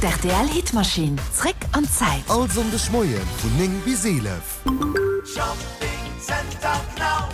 D'RTL Hitmaschinn, zréck an d'Zäit. All Sonndeg Moien vun 9 bis 11.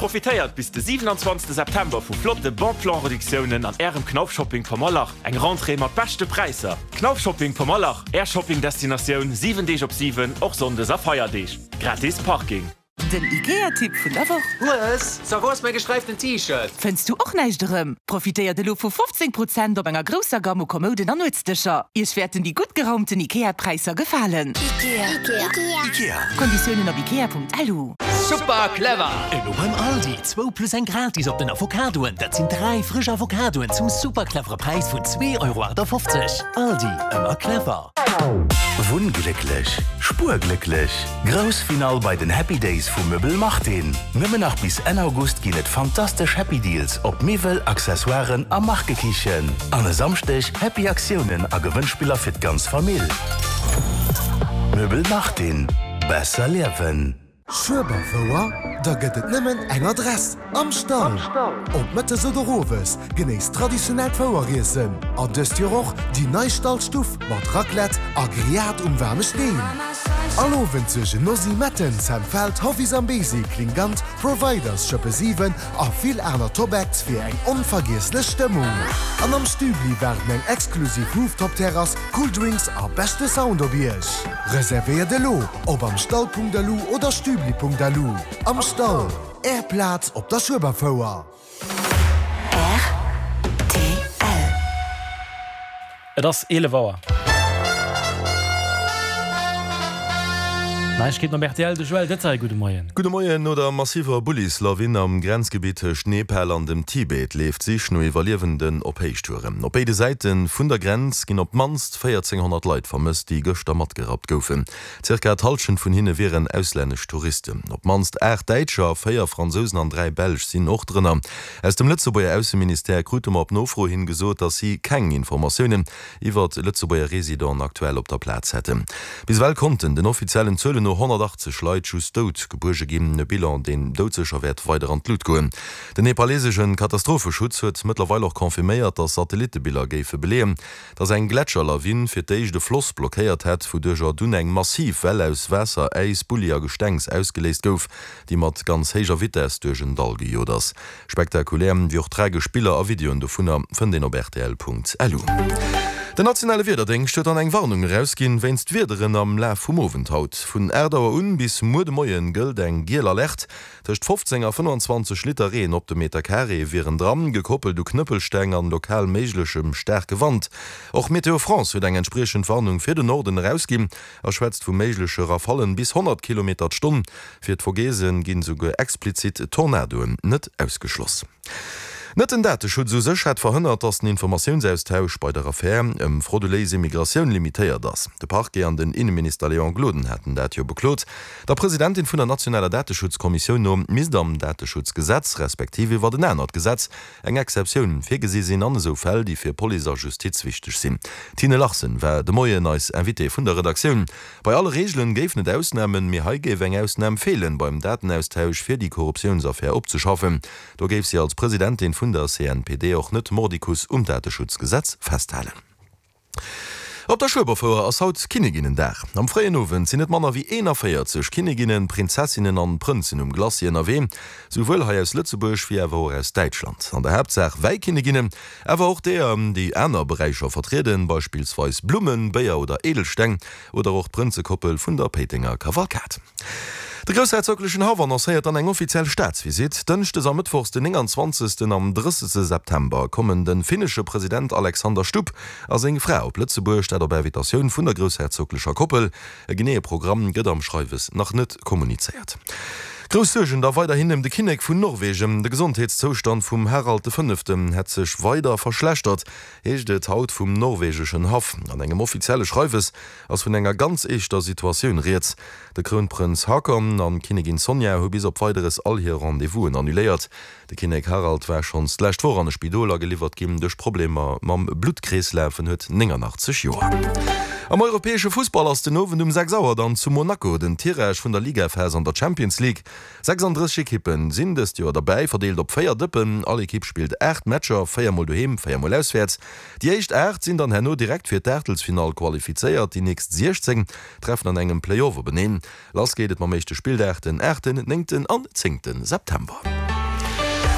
Profitéiert bis de 27 September vu flotte Bon Plan Reduktiounen an Ärem Knauf Shopping Pommerlach. Eng Rentrée mat beschte Präisser. Knauf Shopping Pommerlach, Är Shopping Destinatioun 7 Deeg op 7, och Sonndes a Feierdeeg. Gratis Parking. Den Ikea-Tipp vun der Woch. Hues, so wou ass mäi gesträiften T-Shirt? Fënns du och näischt erëm? Profitéiert elo vu 15 Prozent op enger grousser Gamme u Kommouden an Nuetsdëscher. Iech wäerten déi gutt geraumten Ikea-Präisser gefalen. Ikea. Konditiounen op ikea.lu. Super clever! Elo beim Aldi, zwou plus eng gratis op den Avocadoen. Dat sinn 3 frësch Avocadoen zum super clevere Präis vun 2,58 Euro. Aldi, ëmmer clever. Wunnglécklech, spuerglécklech, Grouss Finall bei den Happy Days vu Möbel Martin. Nëmmen nach bis Enn August ginn et fantastesch Happy Deals op Miwwel, Accessoiren a Markekichen. An e Samschdeg Happy Aktiounen a Gewënnspiller fir d'ganz Famill. Möbel Martin, besser liewen. Schueberfouer? Da gëtt et nëmmen eng Adress, Am Stall! Ob mëttes oder owes, genéisst traditionellt Foueriessen an dëst Joer och déi nei Stallstuff mat Raclette a Grillade um waarme Steen. All Owend suergen Nosy Metten, Sam Feld, Hoffy Zambesi, Klingant, Providers, Schëppe 7 a vill aner Top Acts fir eng onvergiesslech Stëmmung. An am Stübli waarden eng exklusiv Rooftop-Terrass, cool Drinks a beschte Sound op Iech. Reservéiert elo op amstall.lu oder stübli.lu. Am Stall, Är Plaz op der Schueberfouer. Rtl. Et ass 11 Auer. Neiegkeeten op rtl, de Joël Detail, gudde Moien. Gudde Moien. No der massiver Bullislawin am Grenzgebitt tëscht Nepal an dem Tibet leeft d'Sich no Iwwerliewenden op Héichtouren. Op béide Säite vun der Grenz ginn op d'mannst 1.400 Leit vermësst, déi gëschter matgerappt goufen. Zirka d'Hallschent vun hinne wieren auslännesch Touristen. Op d'mannst 8 Däitscher, 4 Fransousen an 3 Belsch sinn och drënner. Aus dem Lëtzebuerger Ausseministère krute mer op Nofro hin gesot, datt si keng Informatiounen iwwert Lëtzebuerger Residenten aktuell op der Plaz hätten. Bis ewell konnten den offiziellen Zuelen no 180 Leit just dout gebuerge ginn, e Bilan, deen doudsécher wäert weider an d'Lut goen. Den nepalesesche Katastropheschutz huet mëttlerweil och confirméiert, datt Satellittebiller géife beleeën, datt eng Gletscherlawin fir d'éischt e Floss blockéiert hätt, wouduercher dunn eng massiv Well aus Waasser, Äis, Bulli a Gestengs ausgeléist gouf, déi mat ganz héijer Vitess duerch en Dall gejot ass. Spektakulär wéi och tragesch Biller a Videoen dovunner fënnt een op rtl.lu. Den nationale Wiederdéngscht huet dann eng Warnung erausginn wéinst Wiederen am Laf vum Owend haut. Vun 8 Auer un bis muer de Moien gëllt eng giel Alerte. Tëscht 15 a 25 Liter Reen op de Meter Carré wieren dran, gekoppelt u Knëppelsteng an lokal méiglechem staarke Wand. Och Météo France huet eng entspriechend Warnung fir den Norden erausginn a schwätzt vu méigleche Rafallen bis 100 Kilometer d'Stonn. Fir d'Vogesen ginn esouguer explizit Tornadoen net ausgeschloss. Net den Dateschutz u sech hätt verhënnert, datt den Informatiounsaustausch bei der Affär ëm frauduléis Immigratioun limitéiert ass. De Parquet an den Inneminister Léon Gloden haten dat jo beklot. Der Presidentin vun der nationaler Dateschutzkommissioun no misst am Dateschutzgesetz, respektiv iwwert en anert Gesetz, eng Exceptioun virgesi sinn an esou Fäll, déi fir Police a Justiz wichteg sinn. D'Tine Larsen war de Moien eis Invitée vun der Redaktioun. Bei alle Reegelen géifen et Ausnamen, mee hei géif eng Ausnam feelen beim Datenaustausch fir déi Korruptiounsaffär opzeschaffen. Do géif si als Presidentin vun der CNPD och net mordicus um Dateschutzgesetz festhalen. Op der Schueberfouer ass haut Kinneginnendag. Am fréien Owend sinn net manner wéi 41 Kinneginnen, Prinzessinnen an Prënzen um Glacis ënnerwee, souwuel hei aus Lëtzebuerg wéi awer och aus Däitschland. An der Haaptsaach Wäikinneginnen, awer och deeër, déi aner Beräicher vertrieden, beispillsweis Blummen, Béier oder Edelsteng, oder och d'Prënzekoppel vun der Péitenger Kavalkad. De groussherzoglechen Haff annoncéiert dann eng offiziell Staatsvisitt. Dënschdes a Mëttwochs den 29. an 30. September kommen de finnesche President Alexander Stubb a seng Fra op Lëtzebuerg, dat op Invitatioun vun der groussherzoglecher Koppel. E geneeë Programm gëtt am Schreiwes nach net kommunizéiert. Grouss Suergen da weiderhin ëm de Kinnek vun Norwegen. De Gesondheetszoustand vum Harald de Fënneften hätt sech weider verschlechtert, heescht et haut vum norwegeschen Haff. An engem offizielle Schreiwes ass vun enger ganz eeschter Situatioun rieds. De Krounprënz Haakon an d'Kinnegin Sonja hu bis op Weideres all hir Rendez-vousen annuléiert. De Kinnek Harald war schonns d'lescht Woch an e Spidol ageliwwert ginn duerch Problemer mam Bluttkreeslaf. En huet 89 Joer. Am europäesche Fussball ass den Owend um 6 Auer dann zu Monaco den Tirage vun der Ligaphas an der Champions League. 36 Ekippen sinn dëst Joer derbäi, verdeelt op 4 Dëppen. All Ekipp spillt 8 Matcher, 4 mol doheem, 4 mol auswäerts. Déi éischt 8 sinn dann herno direkt fir d'Aachtelsfinall qualifizéiert, déi nächst 16 treffen an engem Play-Off openeen. Lass geet et mam éischte Spilldag den aachten, néngten an zéngte September.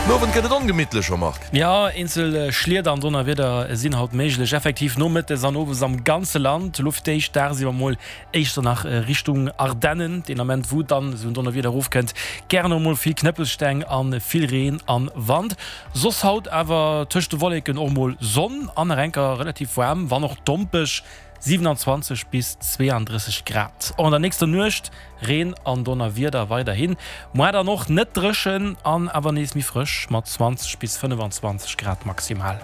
Den Owend gëtt et ongemittlech, Jean-Marc. Jo, eenzel Schlieder an Donnerwieder sinn haut méiglech, effektiv nomëttes an owes am ganze Land. Elo fir d'éischt dagsiwwer mol éischter nach Richtung Ardennen, deen Ament wou dann esou en Donnerwieder erofkënnt, gären och mol vill Knëppelsteng an vill Reen an Wand. Soss haut awer tëscht de Wolleken och mol Sonn an nach enker relativ waarm, wann och dompeg. 27 bis 32 Grad. Och an der nächster Nuecht Reen an Donnerwieder weiderhin, moar dann och net dréchen an awer nees méi frësch mat 20 bis 25 Grad maximal.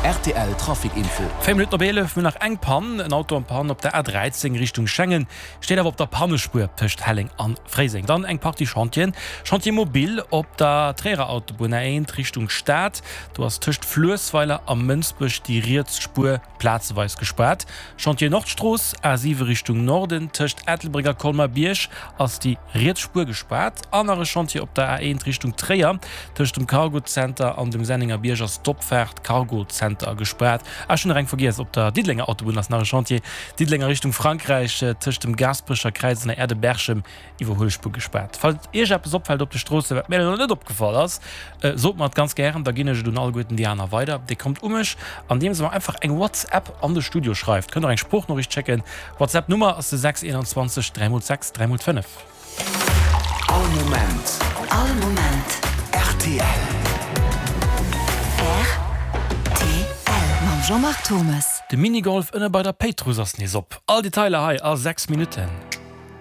Rtl Trafic Info. 4 Minutten op 11, mir hunn nach eng Pann, en Auto en Panne op der A13 Richtung Schengen, steet awer op der Pannespuer tëscht Helleng an Fréiseng. Dann eng Partie Chantieren, Chantier mobile op der Tréierer Autobunn A1 Richtung Stad, Do ass tëscht Fluessweiler a Mënsbech déi riets Spuer plazeweis gespaart. Chantier Nordstrooss, A7 Richtung Norden, tëscht Ettelbréck a Colmar-Bierg ass déi riets Spuer gespaart. An nach e Chantier op der A1 Richtung Tréier, tëscht dem Cargozenter an dem Sennengerbierg ass d'Opfaart Cargozenter gespaart. Ah, ech hunn nach eng vergiess, op der Diddelenger Autobunn ass nach e Chantier, Diddeleng a Richtung Frankräich, tëscht dem Gaasperecher Kräiz an der Aire de Berchem Iwwerhuelspuer gespaart. Falls Iech eppes opfält op de Stroossen, wat mir elo net opgefall ass, sot mer et ganz gären, da ginn ech et un alleguerten déi aner weider. Dir kommt u mech, andeems der mer einfach eng WhatsApp an de Studio schreift. Kënnt och eng Sproochnoriicht schécken. WhatsApp Nummer ass de 6 21 3 x 6 3 x 5. All Moment. All Moment. Rtl. Rtl. Mam Jean-Marc Thommes. De Minigolf ënne bei der Péitruss ass nees op. All Detailer hei a 6 Minutten.